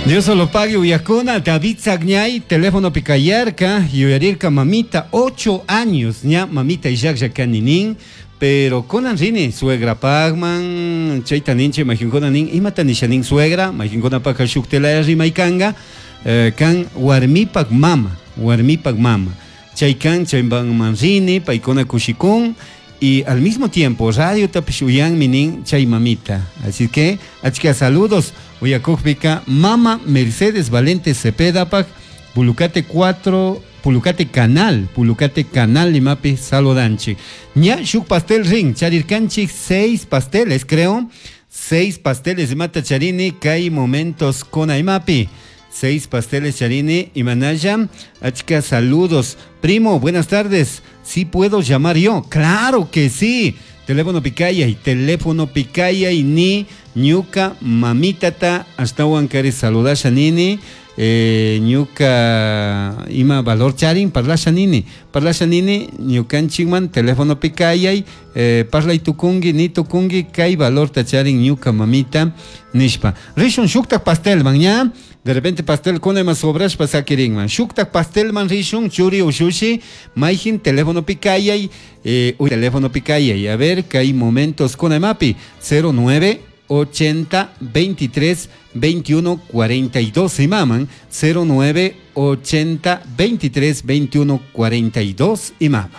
Dios lo pague uyakuna, David Sagñay, teléfono picayarca, yuyarirka mamita, 8 años, ña mamita illaklla kaninin, pero kunan rini, suegra pagman, chayta ninche, mayqinkuna nin, imata nisha nin suegra, mayqinkunapaka shuktilaya rimaykanga, kan warmipak mama, warmipak mama, chay kan chayman rini, paykuna kushikun, y al mismo tiempo radio tapish uyanmi nin chay mamita. Así que, achka saludos, uyakukpika mama Mercedes Valente Cepedapak, Pulucate 4, Pulucate Canal, Pulucate Canal limapi saludanchik. Ña shuk pastel rin, charirkanchik seis pasteles, creo. Seis pasteles mata charini, kay momentos con imapi. Seis pasteles charini y manaya. Achka saludos. Primo, buenas tardes. ¿Sí puedo llamar yo? Claro que sí. Teléfono picaya y teléfono picaya y ni ñuka mamitata ashtahuan kari saludasha nini. Ñuka ima valor charin parlasha nini parlasha nini ñukanchikman teléfono pikayay parlay tukungi ni tukungi kay valorta charin ñuka mamita nishpa rishun shuktak pastelman ña de repente pastel kuna ima sobrashpa sakirinman shuktak pastelman rishun churi ushushi mayjin teléfono pikayay teléfono pikayay a ver kay momentos kuna imapi 09 80 23 21 42 imaman 09 80 23 21 42 imaman.